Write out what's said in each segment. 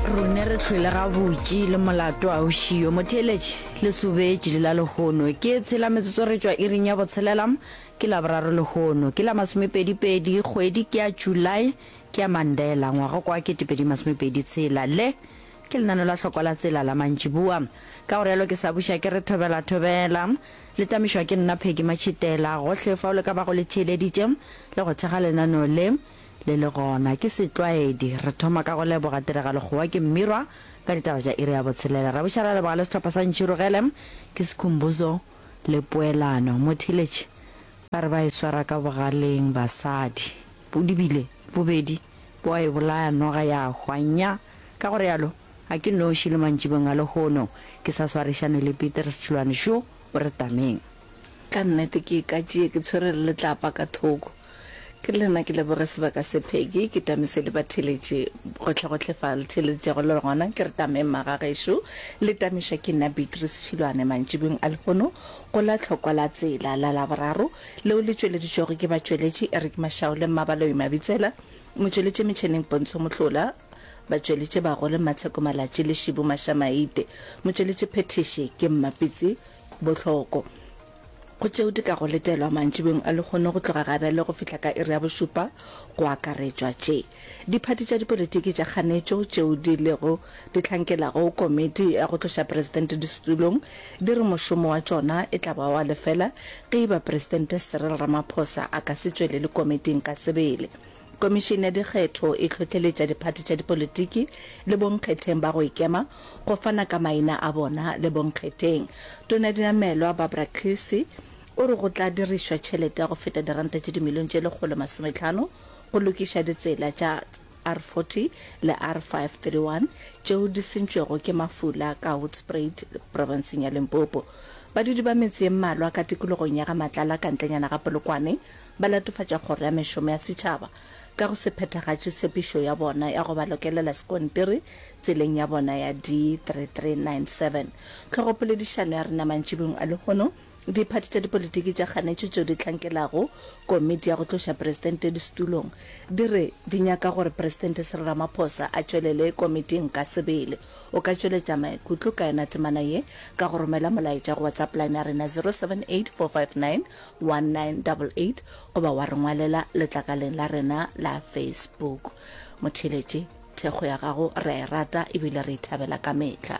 Rune re hlwele gabutši le molato a o šiyo. Motheeletši, le sobetše le la lehono. Ke tshela metsotso re tšwa iring ya botshelela, ke Laboraro lehono. Ke la masomepedipedi, kgwedi ke ya July, ke ya Mandela, ngwaga kwa 2023 tshela. Le ke lenaneo la hlokwa la tsela la mantšiboa. Ka go realo ke sa buša ke re thobela thobela. Le tamišwa ke nna Peggy Matšhitela. Gohle fao le ka bago le theeleditše le go thekga lenaneo le, le le gona. Ke setlwaedi. Re thoma ka go leboga tiragalo kgowa ke Mmirwa ka ditaba tša iri ya botshelela. Ra buša ra leboga le sehlopha sa Ntšhirogele ke Sikhumbuzo le Poelano. Motheeletši ba re ba e swara ka bogaleng basadi. Bodibile bobedi bo a e bolaya noga ya hwa. Nya! Ka go realo, ga ke noši le mantšibong a lehono. Ke sa swarišane le Petrus Tšhilwane šo o re tameng. Ka nnete ke ka tšee ke tshwere le letlapa ka thoko. Ke le nna ke leboge sebaka se Peggy, ke tamise le batheeletši gohlegohle fa le theeleditšego le gona. Ke re tameng magagešo, le tamišwa ke nna Beatrice Tšhilwane mantšibong a lehono go la Tlhokwa la Tsela la Laboraro leo le tšweleditšwego ke batšweletši Eric Mashau le Mmabaloi Mabitsela, motšweletši metšheneng Pontsho Mohlola, batšweletši bagolo Mmatsheko Malatši le Šibu Mašamaite, motšweletši phethiši ke Mmapitsi Bohloko. Go tšeo di kago letelwa mantšibeng a lehono go tloga gabjale go fihla ka iri ya bošupa go akaretšwa tše. Diphathi tša dipolitiki tša kganetšo tšeo di lego di hlankelago komiti ya go tloša presidente disetulong di re mošomo wa tšona e tla ba wa lefela ge e ba Presidente Cyril Ramaphosa a ka se tšwelele komiting ka sebele. Komišene ya Dikgetho e hlohleletša diphathi tša dipolitiki le bonkgetheng ba go ikema go fana ka maina a bona le bonkgetheng. Tona ya Dinamelwa Barbara Creecy o re go tla dirišwa tšhelete ya go feta diranta tše dimilione tše 150 go lokiša ditsela tša R40 le R531 tšeo di sentšwego ke mafula ka Hoedspruit profenseng ya Limpopo. Badudi ba metse ye mmalwa ka tikologong ya ga Matlala ka ntlenyana ga Polokwane Ba latofatša Kgoro ya Mešomo ya Setšhaba ka go se phethagatše tshepišo ya bona ya go ba lokelela sekontiri tseleng ya bona ya D3397. Tlhogopoledišano ya rena mantšibong a lehono, Diphathi tša dipolitiki tša kganetšo tšeo di hlankelago komiti ya go tloša presidente disetulong di re di nyaka gore Presidente Cyril Ramaphosa a tšwelele komiting ka sebele. O ka tšweletša maikutlo ka yona temana ye ka go romela molaetša go WhatsApp line ya rena 078 459 1988 goba wa re ngwalela letlakaleng la rena la Facebook. Motheeletši, thekgo ya gago re a e rata ebile re e thabela ka mehla.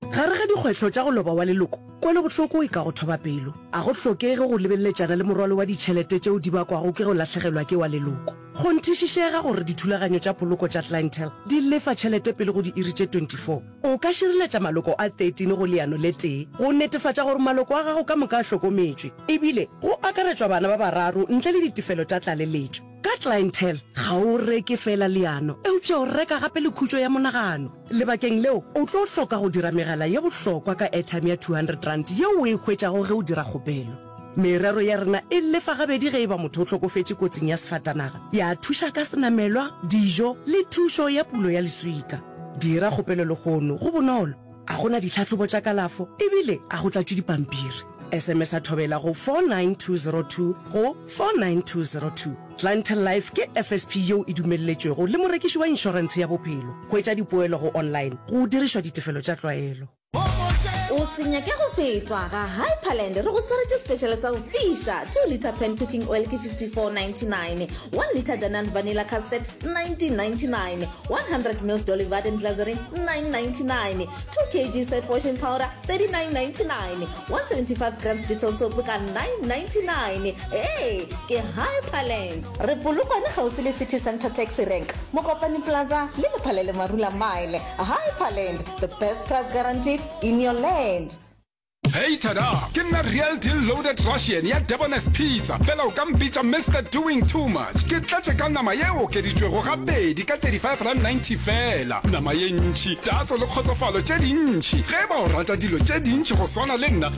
Gare ga dikgwetlho tša go loba wa leloko, kwelobohloko e ka go thoba pelo. A go hlokege go lebeleletšana le morwalo wa ditšhelete tšeo di bakwago ke go lahlegelwa ke wa leloko. Kgonthišišega gore dithulaganyo tša poloko tša Clientele di lefa tšhelete pele go diiri tše 24. O ka šireletša maloko a 13 go leano le tee go netefatša gore maloko a gago ka moka a hlokometšwe, ebile go akaretšwa bana ba bararo ntle le ditefelo tša tlaleletšo. Ka Clientele, ga o reke feela leano, eupša o reka gape le khutšo ya monagano. Lebakeng leo, o tlo hloka go dira megala ye bohlokwa ka airtime ya R200 yeo o e hwetšago ge o dira kgopelo. Merero ya rena e lefa gabedi ge e ba motho o hlokofetše kotsing ya sefatanaga, ya thuša ka senamelwa, dijo le thušo ya pulo ya leswika. Dira kgopelo lehono, go bonolo, a go na ditlhahlobo tša kalafo ebile a go tlatšwe dipampiri. SMS-a Thobela go 49202 go 49202. Clientele Life ke FSP yeo e dumelletšwego le morekiši wa inšorentshe ya bophelo. Hwetša dipoelo go online go dirišwa ditefelo tša tlwaelo. O se nyake go fetwa ga Hyperland re go swaretše special sa go fiša 2 litre pan cooking oil ke 54.99 1 litre Danan vanilla custard 19.99 100 mils Dolly Varden glycerin 9.99 2 kg Surf washing powder 39.99 175 grams Dettol soap ka 9.99 Ee, ke Hyperland. Re Polokwane kgauswi le City Centre Taxi Rank, Mokopane Plaza le Lephalele Marula Mile. Hyperland, the best price guaranteed in your land. Hey tada! Ke nna Real Deal Loaded Russian ya Debonair's Pizza, fela o ka mpitša Mister Doing Too Much. Ke tletše ka nama ye okeditšwego gabedi ka R35.90 feela. Nama ye ntši, tatso le kgotsofalo tše dintši. Ge e ba o rata dilo tše dintši go swana le nna,